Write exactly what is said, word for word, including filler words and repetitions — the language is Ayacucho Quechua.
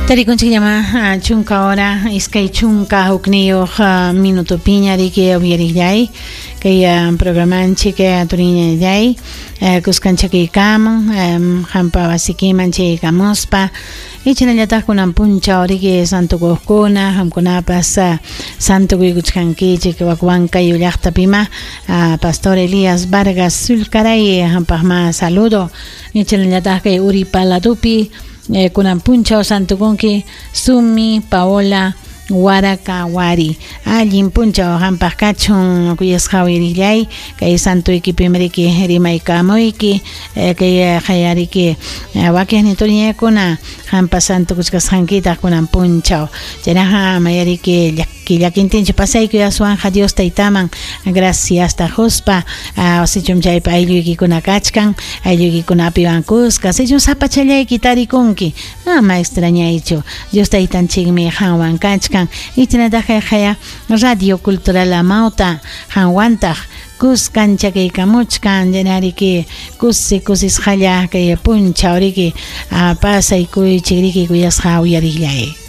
Tarikunchik llama chunka hora iskay chunka hukniyuq minutupiña riki uyariqllay kay programanchik turiñallay kuskanchakiykamun hampa wasikiman chaykamuspa ichinallataq kunan punchaw riki santukuqkuna hamkunapas santukuykuchkankichik wak Huancayo llaqtapima Pastor Elías Vargas Sulcaray hampaqma saludo ichinallataq kay Uripaladupi Eh, kunan punchaw santukunki Sumi Paola Waraka Wari allin punchaw hampaq kachun kuyasqa uyarillay kay santuykipim riki rimaykamuyki eh, kay qayariki eh, wakiqnin turiñakuna hampa santukuchkasqankitaq kunan punchaw chaynaqa mayariki llaki llakintinchu pasaykuy aswanja Dios taytaman gracias tajuspa sichum chaypa aylluykikuna kachkan aylluykikunapiwan kuska sichum sapachallayki tarikunki ama extrañaychu Dios taytanchikmi qanwan kachkan ichinataq kay Radio Cultural Amauta qanwantaq kuskan chakaykamuchkan llanariki kusi kusisqalla kay punchaw riki pasaykuychik riki kuyasqa uyariqllay.